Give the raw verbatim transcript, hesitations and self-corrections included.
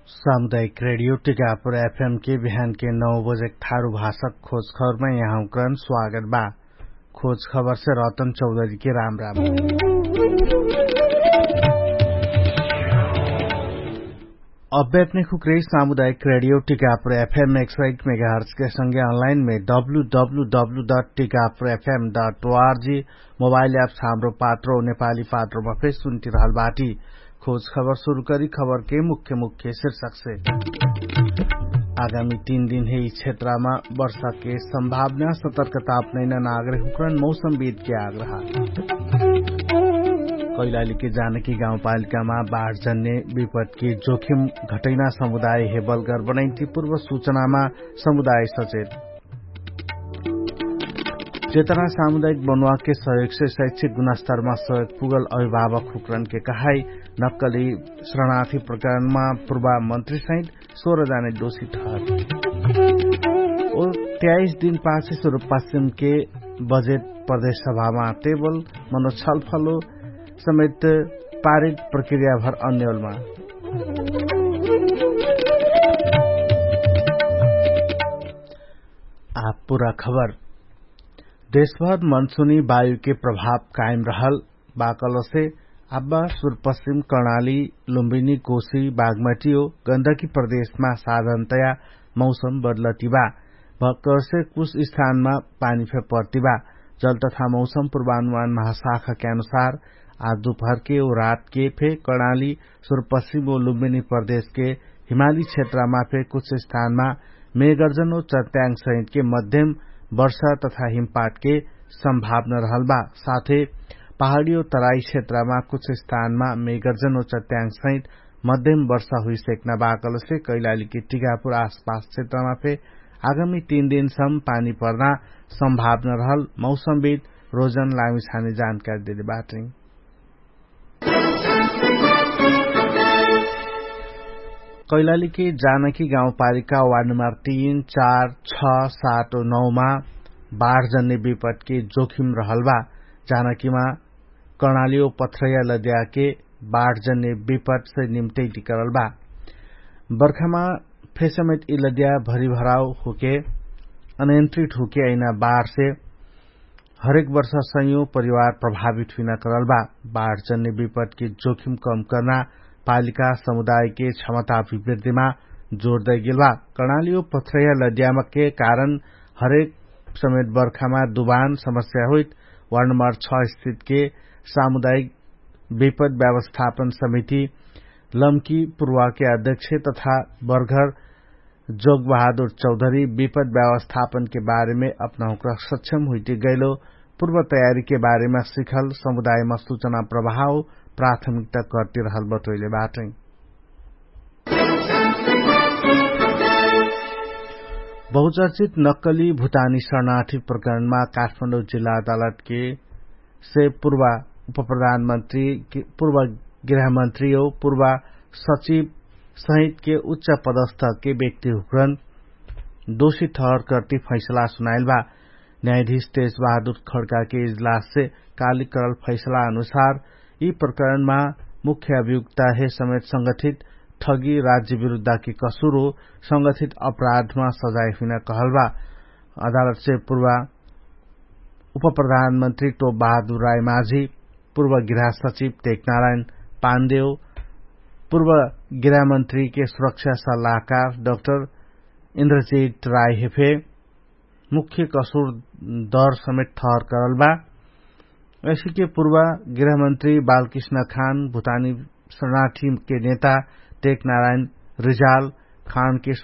सामुदायिक रेडियो टिकापुर एफएम के बिहान के नौ बजे थारु भाषक खोज खबरमा यहाँकरण स्वागत बा। खोज खबर से रतन चौधरी के राम राम। अब्यापने खुक्रे सामुदायिक रेडियो टिकापुर एफएम एक सौ एक मेगाहर्च के संगे अनलाइन में W W W dot Tikapur FM dot O R G mobile apps Hamro Patro नेपाली पात्रोमा फेर सुन्टिरहल बाटी। खोज खबर सुरु करी खबर के मुख्य मुख्य शीर्षक से। आगामी तीन दिन हे यी क्षेत्रमा वर्षा के सम्भावना सतर्कता अपनैना नागरिक हुक्रन मौसम बिद के आग्रह। कैलाली के जानकी गाउँपालिकामा बाढ जन्ने विपद के जोखिम घटैना समुदाय हे बलगर बनैन्ति पूर्व सुचनामा समुदाय सचेत। चेतना सामुदायिक बनुवाके सहयोगसे शैक्षिक गुणस्तरमा सहयोग पुगल अभिभावक हुक्रनके कहाई। नक्कली शरणार्थी प्रकरणमा पूर्वा मन्त्री सहित सोह्र जाने दोषी ठहर। ओ त्याइस दिन पाछे सुरुपासिमके बजेट प्रदेश सभामा टेबल मनो छलफलो समेत पारित प्रक्रियाभर अन्यलमा। आब पुरा खबर। देशभर मनसुनी वायुके प्रभाव कायम रहल बाकलसे आब्बा सुरपश्चिम कर्णाली लुम्बिनी कोशी बागमटी ओ गन्दकी प्रदेशमा साधनतया मौसम बदलतिबा। भक्करसे कुछ स्थानमा पानी फे पर्तिबा। जल तथा मौसम पूर्वानुमान महाशाखके अनुसार आज दुपहरके ओ रातके फे कर्णाली सुरपश्चिम ओ लुम्बिनी प्रदेशके हिमाली क्षेत्रमा फे कुछ स्थानमा मेगर्जन ओ चट्याङ सहितके मध्यम वर्षा तथा हिमपातके सम्भावना रहल बा। साथे पहाडी ओ तराई क्षेत्रमा कुछ स्थानमा मेगर्जन ओ चट्याङ सहित मध्यम वर्षा हुइसेक्ना बाकलसे कैलालीके टिकापुर आसपास क्षेत्रमा फे आगामी तीन दिनसम्म पानी पर्ना सम्भावना रहल मौसमविद रोजन लामिछाने जानकारी देले बाटै। कैलालीके जानकी गाउँपालिका वार्ड नम्बर तीन चार छ सात नौमा बाढ जन्ने विपदके जोखिम रहल बा। जानकीमा कर्णाली ओ पथरैया लद्याके बाढ जन्ने विपदसे निम्टै टिकरल बा। बर्खामा फेसमेत यि लद्या भरिभराव हुके अनियन्त्रित हुके अइना बाढसे हरेक वर्ष सयौं परिवार प्रभावित हुइना करल बा। बाढ जन्ने विपदके जोखिम कम कर्ना पालिका समुदायके क्षमता अभिवृद्धिमा जोर दैगेल बा। कर्णाली ओ पथरैया लद्यामके कारण हरेक समेत बर्खामा दुबान समस्या होइत वार्ड नम्बर छ स्थितके सामुदायिक विपद व्यवस्थापन समिति लम्की पूर्वाके अध्यक्ष तथा बर्घर जोगबहादुर चौधरी विपद व्यवस्थापनके बारेमे अपना हुक्रा सक्षम हुइटिगैलो पूर्व तयारीके बारेमा सिखल समुदायमा सुचना प्रभाव प्राथमिकता कर्तिरहल बटोइले बाटै। बहुचर्चित नक्कली भुटानी शरणार्थी प्रकरणमा काठमाडौँ जिल्ला अदालतके से पूर्वा उपप्रधानमन्त्री पूर्वा गृहमन्त्री ओ पूर्वा सचिव सहितके उच्च पदस्थके व्यक्ति हुक्रन दोषी ठहर कर्ति फैसला सुनाइल बा। न्यायाधीश तेज बहादुर खड्काके इजलाससे कालिक करल फैसला अनुसार यि प्रकरणमा मुख्य अभियुक्ताहे समेत संगठित ठगी राज्य विरुद्धाके कसुर ओ संगठित अपराधमा सजाय हुइना कहल बा। अदालतसे पूर्वा उपप्रधानमन्त्री टोप बहादुर रायमाझी, पूर्व गृहसचिव टेकनारायण पान्देव, पूर्व गृहमन्त्रीके सुरक्षा सल्लाहकार डक्टर इन्द्रजित रायहेफे मुख्य कसुर दर समेत ठहर करल बा। ऐसिके पूर्व गृहमन्त्री बालकृष्ण खान भुटानी शरणार्थीके नेता टेकनारायण रिजाल खानके